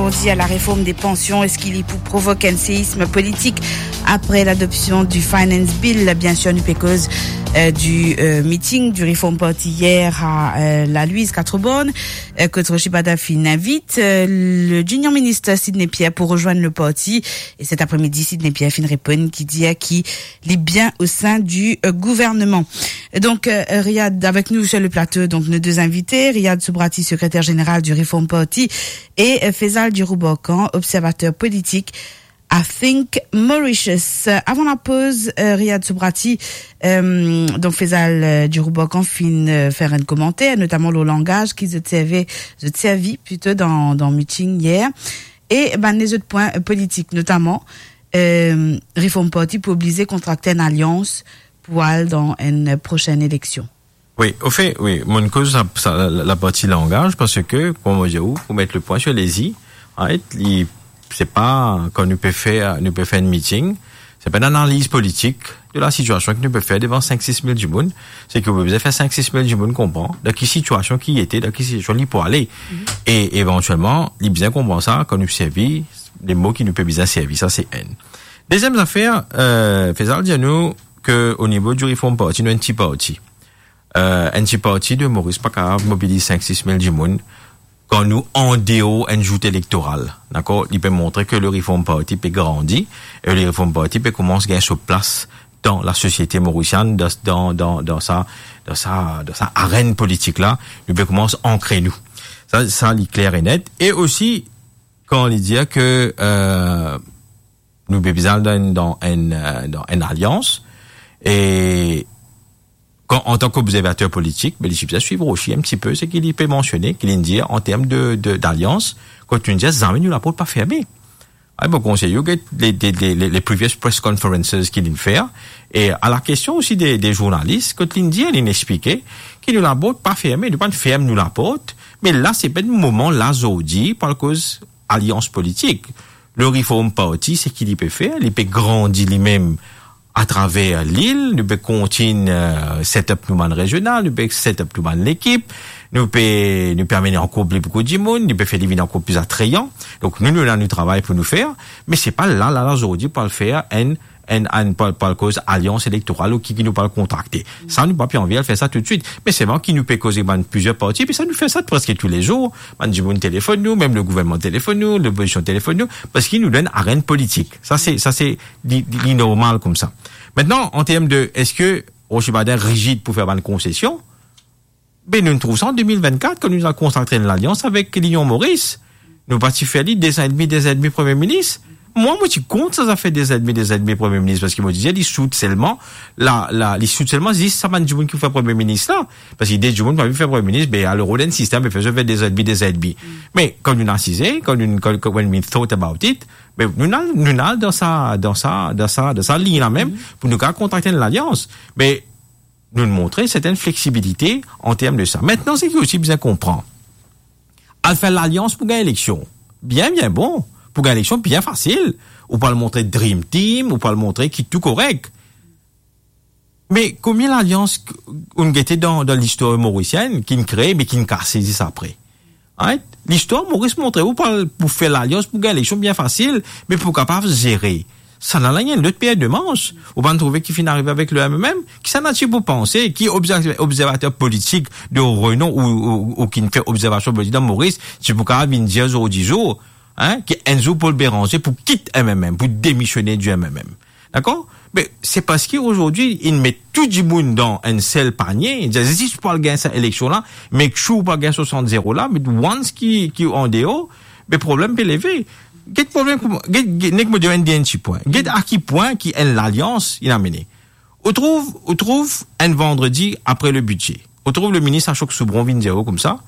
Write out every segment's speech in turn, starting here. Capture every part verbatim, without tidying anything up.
Ou dir la reform de pansion, eski li pou provok enn seism politik apre ladopsion di Finance Bill? Biensir, nou pe koz, euh, di, euh, meeting di Reform Party yer a, euh, Lalwiz, Quatre-Bornes, euh, kot Rocher Bader finn invit, euh, le junior minister Sidney Pierre pou rezwenn le parti. E set apremidi, Sidney Pierre finn reponn ki dir ki li bien o sein di, euh, gouverneman. Donk, euh, Riyad avek nou sur le plato, donk nou de invité, Riyad Soubrati, sekreter zeneral di Reform Party, e, euh, Faisal Dirouborkhan, observater politik a Think Mauritius. Avan lapoz, euh, Riyad Soubrati, euh, donk Faisal, euh, Dirouborkhan finn, euh, fer enn komanter, notaman lor langaz ki zot serve, zot servi plito dan, dan meeting yer. E bann lezot pwin, euh, politik, notaman, euh, Reform Party pou oblize kontrakte enn alians pou al dan enn prosenn eleksion. Wi, ofe, wi, mo'nn koz sa, sa, la, la parti langaz, parski, kouma mo dir ou, pou met le pwin sur les i, right, li, se pa, kan nou pe fer, nou pe fer enn meeting, se pa enn analiz politik de la sitiasion ki nou pe fer devan sink sis mil dimoun, se ki ou pe bizin fer sink sis mil dimoun konpran dan ki sitiasion ki li ete, dan ki sitiasion li pou ale. Mhm. E evantielman, li bizin konpran sa, kan nou servi, le mo ki nou pe bizin servi, sa se enn. Deziem zafer, euh, Faisal dir nou ke o nivo di Reform Party, nou enn ti parti. Euh, enn ti parti de Moris pa kapav mobiliz sink sis mil dimoun kan nou andeor enn zout elektoral, dakor? Li pe montre ke le Reform Party pe grandi, e le Reform Party pe koumans gagn so plas dan lasosiete morisienn, dan, dan, dan, dan sa, dan sa, dan sa arenn politik la, nou pe koumans ankre nou. Sa, sa li kler e net. E osi, kan li dir ke, euh, nou pe bizin al dan, dan enn, euh, dan enn alians, e kan, antan ki obzervater politik, be, li ti bizin swiv osi enn tipe seki li pe mansione, ki li dir an term de, de, dalians, kot nou dir zame nou laport pa ferme. Ay, mo konsey ou get le, le, le, le, le previous press conferences ki li'nn fer, e a la kestion osi de, de zournalis, kot li'nn dir, li'nn explike ki nou laport pa ferme, nou pa'nn ferm nou laport, me la se pa enn moman la zordi pou al koz alians politik. Le Reform Party, seki li pe fer, li pe grandi limem atraver lil, nou pe kontign, euh, set up nou bann rezional, nou pe set up nou bann lekip, nou pe, nou pe amenn ankor pli boukou dimoun, nou pe fer li vinn ankor pli atrayan. Donk nou, nou ena nou travay pou nou fer, me se pa la, la, la, zordi pou al fer enn, enn, enn, pou al, pou al koz alians elektoral ou ki, ki nou pou al kontrakte. Sa, nou pa pe anvi al fer sa toutswit. Me selman ki nou pe koze bann plizier parti, pi sa nou fer sa preske toulezour. Bann dimoun telefonn nou, mem le gouvernman telefonn nou, lopozision telefonn nou, parski nou dan enn arenn politik. Sa se, sa se li, li, li normal koumsa. Aster, an term de, eski Rocher Bader rizid pou fer bann konsesion? Be, nou trouv sa an de mil vennkat, kan nou al kontrakte enn lalians avek Linion Moris. Nou pa ti fer li dezan edmi, dezan edmi premie minis. Mwa, mo ti kont sa zafer dezan edmi, dezan edmi premie minis, parski mo ti dir, li sout selman, la, la, li sout selman zis sa bann dimoun ki pou fer premie minis la. Parski de dimoun pa pou fer premie minis, be, al rod enn sistem, be, fer zot fer dezan edmi, dezan edmi. Me kan nou asize, kan nou, kan, kan, when we thought about it, be, nou al, nou al dan sa, dan sa, dan sa, dan sa lign la mem, pou nou kapav kontrakte enn lalians. Me nou montre sertenn fleksibilite an term de sa. Aster, seki osi bizin konpran, al fer lalians pou gagn eleksion, bien, bien bon. Pou gagn eleksion, bien fasil. Ou pou al montre dream team, ou pou al montre ki tou korek. Me konbien lalians k-, ou'nn gete dan, dan listwar morisienn, ki'nn kree, me ki'nn kase zis apre? Right? Listwar Moris montre ou pou al, pou fer lalians pou gagn eleksion bien fasil, me pou kapav zere, sa la, la enn lot per de manz. Ou pa'nn trouve ki finn arive avek le M M M? Ki sa natir pou panse, ki obzer-, obzervater politik de renom ou, ou, ou ki'nn fer obzervasion politik dan Moris, ti pou kapav vinn dir zordi zour, hein, ki enn zour Paul Bérenger pou kit M M M, pou demisione di M M M? Dakor? Me se parski azordi, inn met tou dimoun dan enn sel panie, dir zis pou al gagn sa eleksion la, make sure pou al gagn swasant zero la, me once ki, ki andeor, be, problem pe leve. Get problem kouma, get, get, nek mo dir enn dernie ti pwin. Get a ki pwin ki enn lalians inn amene. Ou trouv, ou trouv enn vandredi apre le bidze, ou trouv le minis Ashok Soubron vinn dir ou koumsa,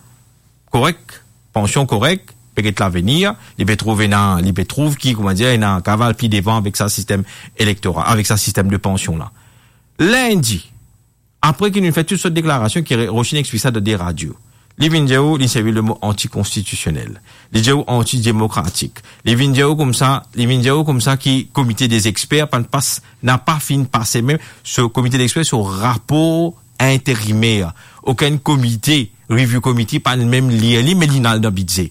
korek, pansion korek, pe get lavenir, li pe trouv ena, li pe trouv ki, kouma dir, ena kapav al pli devan avek sa sistem elektoral, avek sa sistem de pansion la. Lindi, apre ki nou fer tou sort deklarasion ki re-, Rochine explik sa dan de radio, li vinn dir ou, li servi le mo antikonstitisionel. Li dir ou antidemokratik. Li vinn dir ou koumsa, li vinn dir ou koumsa ki komite dezexper pa'nn pas, napa finn pase mem so komite dezexper, so rapor interimer. Okenn komite, review committee, pa'nn mem lir li, me li'nn al dan bidze.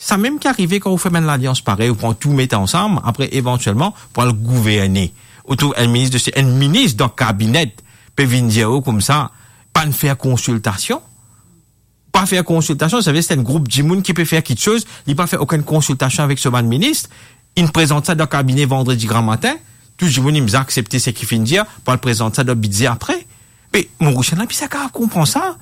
Samem ki arive kan ou fer bann lalians parey, ou pran tou met ansam, apre evantielman pou al gouverne. Ou trouv enn minis de, enn minis dan kabinet pe vinn dir ou koumsa, pa'nn fer konsiltasion. Pa fer konsiltasion, savedir se enn group dimoun ki pe fer kiksoz, li pa fer okenn konsiltasion avek so bann minis, li prezant sa dan kabine vandredi gramatin, tou dimoun li bizin aksepte seki finn dir, pou al prezant sa dan bidze apre. Me Morisien la bizin kapav konpran sa.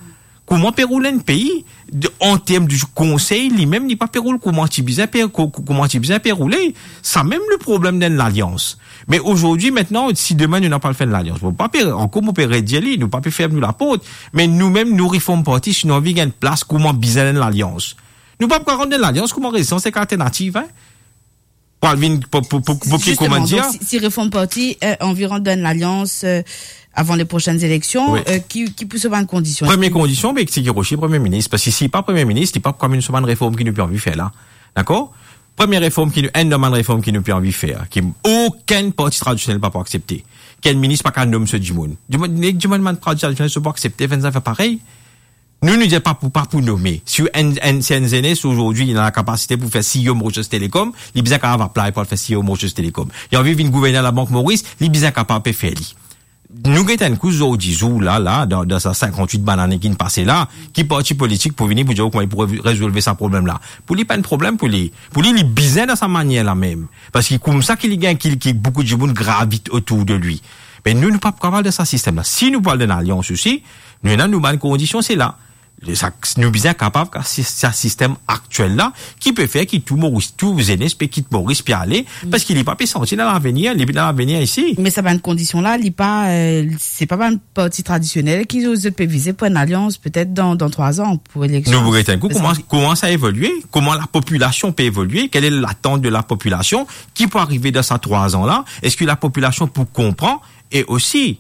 Kouma pe roul enn pei, de, an term de konsey, li mem, li pa pe roul kouma ti bizin pe, ko-, ko-, kouma ti bizin pe roule. Samem le problem dan lalians. Me azordi, aster, si demin nou napa al fer enn lalians, mo pa pe, ankor mo pe redir li, nou pa pe ferm nou laport, me noumem, nou Reform Party, si nou anvi gagn plas kouma bizin enn lalians, nou pa pou rant dan lalians kouma Rezistans ek Alternativ, hein? Pou al vinn, pou, pou, pou, pou ki, Zisteman, kouma dir, donk, si, si Reform Party, euh, anvi rant dan lalians, euh, avan le prosenn eleksion, Wi. euh, ki, ki pou so bann kondision? Premie kondision, be, se ki Rocher premie minis, parski si li pa premie minis, li pa pou kapav so bann reform ki nou pe anvi fer la. Dakor? Premie reform ki nou, enn dan bann reform ki nou pe anvi fer, ki okenn parti tradisionel pa pou aksepte, ki enn minis pa kapav nom so dimoun. Dimoun, nek dimoun bann parti tradisionel so pou aksepte fer enn zafer parey. Nou, nou dir pa pou, pa pou nome. Si enn, enn, si enn zenes azordi, li ena lakapasite pou fer CEO Mauritius Telecom, li bizin kapav apply pou al fer CEO Mauritius Telecom. Li anvi vinn gouverner Labank Moris, li bizin kapav pe fer li. Nou get enn kou zordi zour la, la, dan, dan sa sinkant-wit bann ane ki pase la, ki parti politik pou vini pou dir kouma li pou re-, rezolve sa problem la. Pou li, pa enn problem pou li. Pou li, li bizin dan sa manier la mem. Parski koumsa ki li gagn, ki, ki boukou dimoun gravit otour de li. Me nou, nou pa pou kapav dan sa sistem la. Si nou pou al dan lalians osi, nou ena nou bann kondision, se la. Sa, nou bizin kapav, sa sistem aktiel la, ki pe fer ki tou Moris, tou zenes pe kit Moris pe ale, Mm. parski li pa pe santi dan lavenir, li pe dan lavenir isi. Me sa bann kondision la, li pa, euh, se pa bann parti tradisionel ki zot pe vize pou enn alians, petet dan, dan trwa an, pou eleksion. Nou pou get enn kou, Se kouma, sa. kouma sa evolie, kouma lapopilasion pe evolie, kel e latant de lapopilasion, ki pou arive dan sa trwa an la, eski lapopilasion pou konpran, e osi,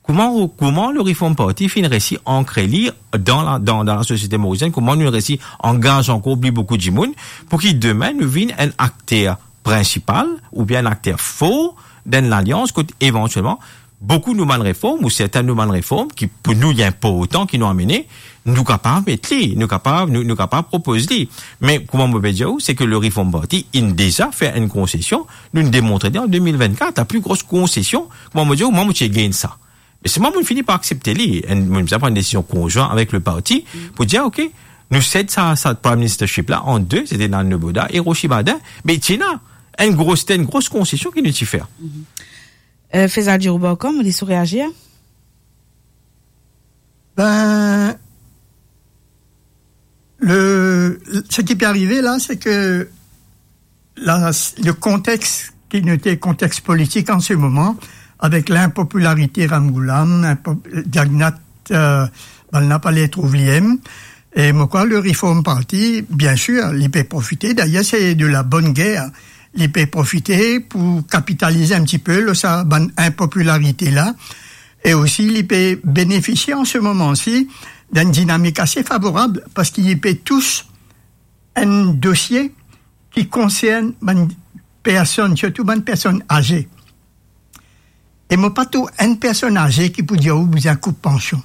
kouma, kouma le Reform Party finn resi ankre li dan la, dan, dan lasosiete morisienn, kouma nou resi angaz ankor pli boukou dimoun, pou ki demin nou vinn enn akter prinsipal oubien enn akter for dan enn lalians kot evantielman boukou nou bann reform ou sertin nou bann reform ki pou nou li inportan ki nou amene, nou kapav met li, nou kapav, nou, nou kapav propoz li. Me kouma mo pe dir ou, se ke le Reform Party inn deza fer enn konsesion, nou demontre li an de mil vennkat, la pli gros konsesion, kouma mo dir ou, mwa mo ti gagn sa. Me selman mo fini par aksepte li, enn, mo bizin pran enn desizion konzwin avek le parti pou dir, ok, nou sed sa, sa Prime Ministership la an de, se te Nan Noboda e Rocher Baden, me ti ena enn gros, enn gros konsesion ki nou ti fer. Euh, Faisal Djiroubor, kouma li sou reazir? Ben, le, ce qui peut arriver là, c'est que la, le contexte qui nous était contexte politique en ce moment, avec l'impopularité Ramgoolam, impo-, Jagannath, euh, bann la pa le trouv li enn, e mo krwar le Reform Party, bien sûr, li pe profite, d'ailleurs, c'est de la bonne guerre, li pe profite pou kapitalize un petit peu lor sa bann inpopularite la, e osi li pe benefisie an se moman si dan enn dinamik ase favorab, parski li pe tous enn dosie ki konsern bann personn, sirtou bann personn aze. E mo pa trouv enn personn aze ki pou dir ou bizin koup pansion.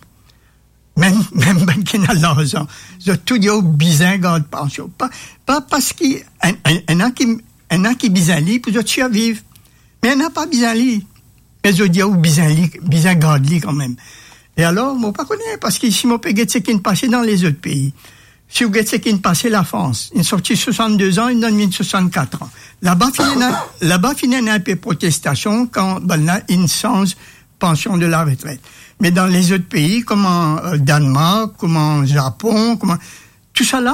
Mem, mem bann ki ena larzan, zot tou dir ou bizin gard pansion. Pa, pa parski enn, enn, ena ki, ena ki bizin li pou zot sirviv. Me ena pa bizin li. Me zot dir ou bizin li, bizin gard li kanmem. E alor, mo pa kone, parski si mo pe get seki inn pase dan lezot pei, si ou get seki inn pase Lafrans, inn sorti swasannde an, inn donn vinn swasannkat an. Laba finn ena, laba finn ena inpe protestasion kan bann la inn sanz pansion de la retret. Me dan lezot pei, kouma, euh, Danemark, kouma Zapon, kouma, tousala,